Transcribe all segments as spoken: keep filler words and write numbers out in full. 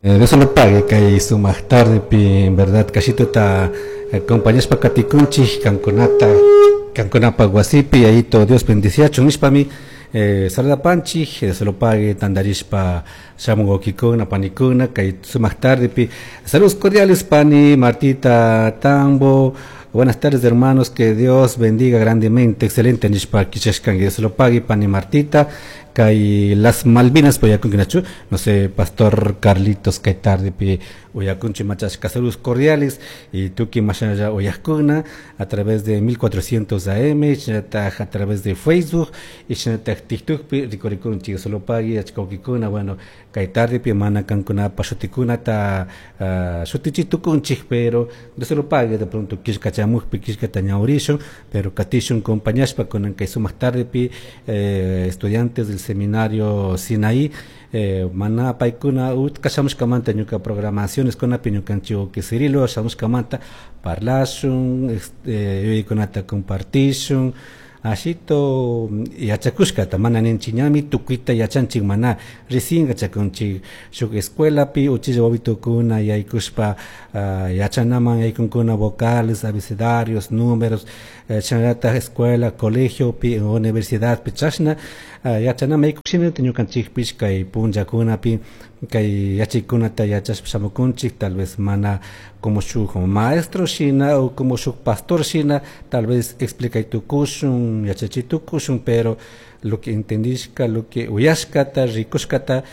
Eh, Dios lo pague kay sumaq tardepi, en verdad, kashituta acompañashpa katikunchik kankunata kankunapa wasipi ayito Dios bendiciachun nishpami eh, saludapanchik. Dios lo pague tandarishpa shamun wawkikuna panikuna kay sumaq tardepi. Saludos cordiales, pani Martita Tambo. Buenas tardes, hermanos, que Dios bendiga grandemente. Excelente nishpa kichashkan. Dios lo pague, pani Martita. Kay las Malvinas uyakunkunachu, no sé, pastor Carlitos, kay tardepi uyakunchi machashka. Saludos cordiales y tuki mashalla uyakuna a través de mil cuatrocientos A M, shinataj a través de Facebook y shinataj TikTok rikurikunchi. Dios lo pague achkawkikuna. Bueno, kay tardepi mana kankunapa shutikunata uh, shutichitukunchik, pero Dios lo pague, de pronto killkachamukpi killkata ñawrishun, pero katishun compañashpa kunan kay sumaq tardepi. eh, estudiantes del seminario Sinaí, eh, mana paykuna utka shamushkamanta ñuka programaciones kunapi ñukanchik que Cirilo shamushkamanta parlashun, este, yuyaykunata compartishun ashito yachakushkata. Mana ninchik ñami tukuyta yachanchik, mana, recién yachakunchik. Shuk escuelapi uchilla wawitukuna yaykushpa uh, yachanaman yaykunkuna vocales, abecedarios, números, eh, chashnallatak escuela, colegiopi, universidadpi chashna uh, yachanaman yaykushina, ñukanchikpish kay punllakunapi kay yachaykunata yachashpa shamukunchik, tal vez mana como shuk maestro shina o como shuk pastor shina, tal vez explicaytukushun, yachachitukushun, pero lo que entendishka, lo que uyashkata, rikushkata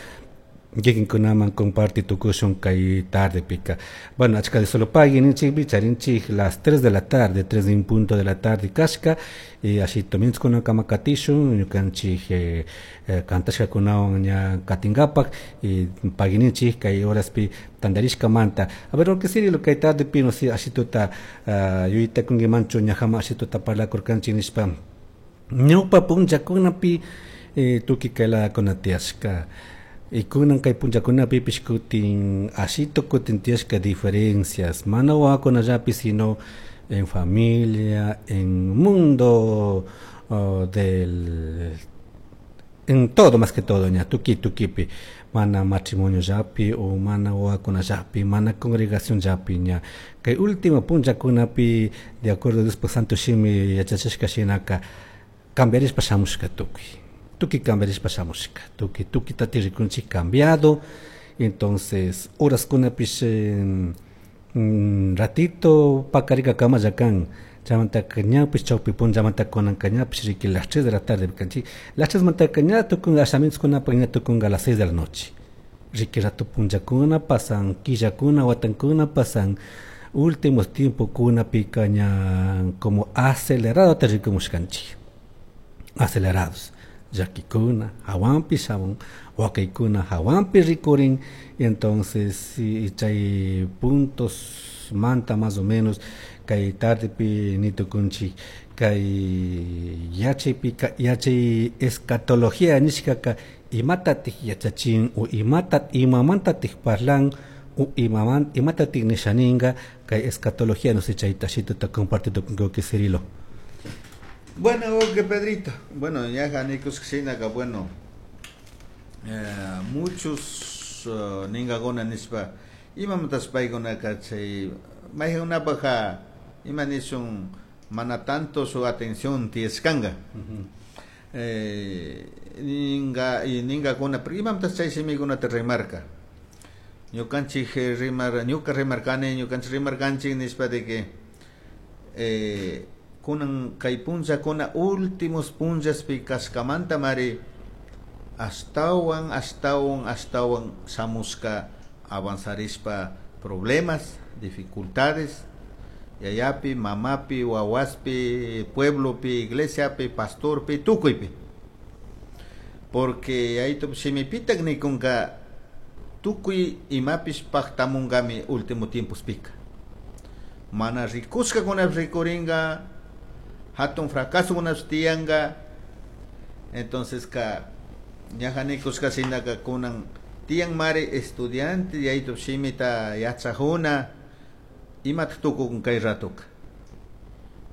kikinkunaman comparti tukushun kay tardepika. Bueno, achka Dios lo pague ninchikpi charinchik las tres de la tarde, tres de un punto de la tarde kashka y así kuna kama katishun ñukanchik eh, eh, kantashkakunawan ña katinkapak y paguininchik kay horaspi tantarishkamanta. A ver, lo que Cirilo, kay tardepi, no sé, ashituta uh, yuyaytakunkimanchu ñajama ashituta parlakurkanchik nishpa ñawpa punllakunapi eh, tukuy kay tiyashka y kunan kay punllakunapipish kutin ashito kutin tiyashka diferencias, mana wawakunallapi, sino en familia, en mundo uh, del en todo, más que todo ña tuki tukipi, mana matrimonio llapi o mana wawakunallapi, mana congregación llapi. Ña kay último punllakunapi, de acuerdo a Dios Santo Shimi yachachishka shinaka, cambiarishpa shamushka tukuy tukuy cambiarishpa shamushka tukuy tukuy tati rikunchik cambiado. Entonces horaskunapish mm, ratito pakarika kamalla kan, chaymantaka ñapish chawpi punllamanta kunanka ñapish riki las tres de la tarde kanchik, las tres mantaka ña tukunga ashamientokunapak ña tukunga a las seis de la noche. Riki rato punllakuna pasan, killakuna, watankuna pasan, últimos tiempokunapika ña como acelerado ta rikumushkanchik, acelerados, llakikuna hawanpi shamun, wakaykuna hawanpi rikurin. Y entonces chay puntos manta más o menos kay tardepi nitukunchik kay yachaypika yachay escatología nishkaka imatatik yachachin o imatat imamantatik parlan o imaman imatatik nishaninga kay escatología. No sé, chayta ashituta comparti tukunki, Cirilo. Bueno, que Pedrito. Bueno, ya janikos shinaka, bueno, eh, muchos uh, ningakuna nishpa imamantas paykunaka chay mayqankunapaq ima nishun mana tanto su atención tiyashkanka eh, ninga y ningakuna, pero imamantas chay shimikunata rimarka ñukanchik rimar ñuka rimarkani, ñukanchik rimarkanchik nishpa de que eh, kunan kay punllakuna últimos punllaspi kashkamanta mari ashtawan ashtawan ashtawan shamushka avanzarishpa problemas, dificultades yayapi, mamapi, wawaspi, pueblopi, iglesiapi, pastorpi, tukuypi, porque yayito shimipitak nikunka tukuy imapish paktamunkami último tiempospika, mana rikushkakunapish rikurinka, hatun fracasokunapish tiyanka. Entonces ka ñaja nikushka shinaka kunan tiyan mari estudiante yayito shimita yachajuna imatak tukukun kay ratoka.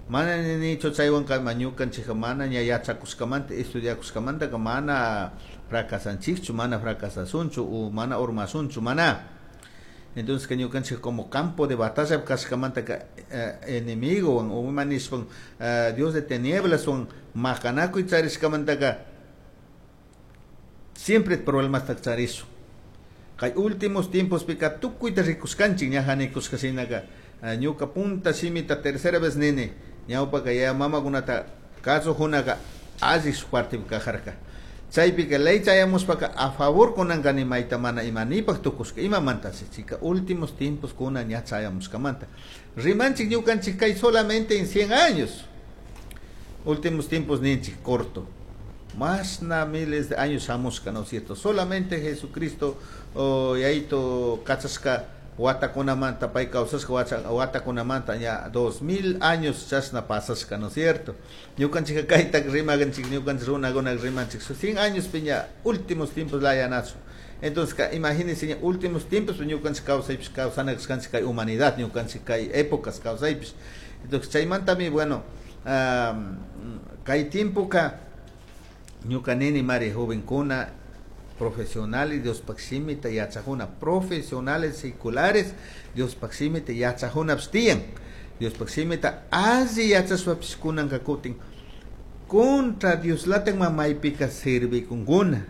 Mana ninichu chaywanka ñukanchikka mana ña yachakushkamanta estudiakushkamantaka mana fracasanchikchu, mana fracasasunchu o mana urmasunchu, mana. Entonces que ñukanchik como campo de batalla kashkamanta eh, enemigo o ima nishpa eh, Dios de tinieblas wan maqanakuy charishkamantaka siempre problemas charishun. Kay últimos tiempos pika tukuyta rikushkanchik ñaja nikushka shinaka ñuka punta shimita tercera vez nini ñawpaka yaya mamakunata kasujunaka alli shuk partipi kajarka. Chaypika ley chayamushpaka a favor kunanka mayta mana imanipaq tukushka imamanta chika últimos tiempos kuna ña chayamushkamanta. Rimanchik ñukanchik kay solamente en cien años. Últimos tiempos ninchik corto. Mashna miles de años shamushka, ¿no es cierto? Solamente Jesucristo oh, yayito kachashka watakunamanta pay kawsashka watakunamanta ña dos mil años chashna pasashka, ¿no es cierto? Ñukanchik kayta rimakanchik ñukanchik runakuna rimanchik cien años piña últimos tiempos layanachu. Entonces, imagínense ña últimos tiempos ñukanchik kawsaypish kawsana kashkanchik kay humanidad ñukanchik kay épocas kawsaypish. Entonces, chaymantami bueno, um, kay tiempoka ñuka nini mari jovenkuna profesionales Diospaq shimita yachajuna profesionales seculares Diospaq shimita yachajunapish tiyan Diospaq shimita alli yachashpapish kunanka kutin contra Dioslatak maypika servikunkuna.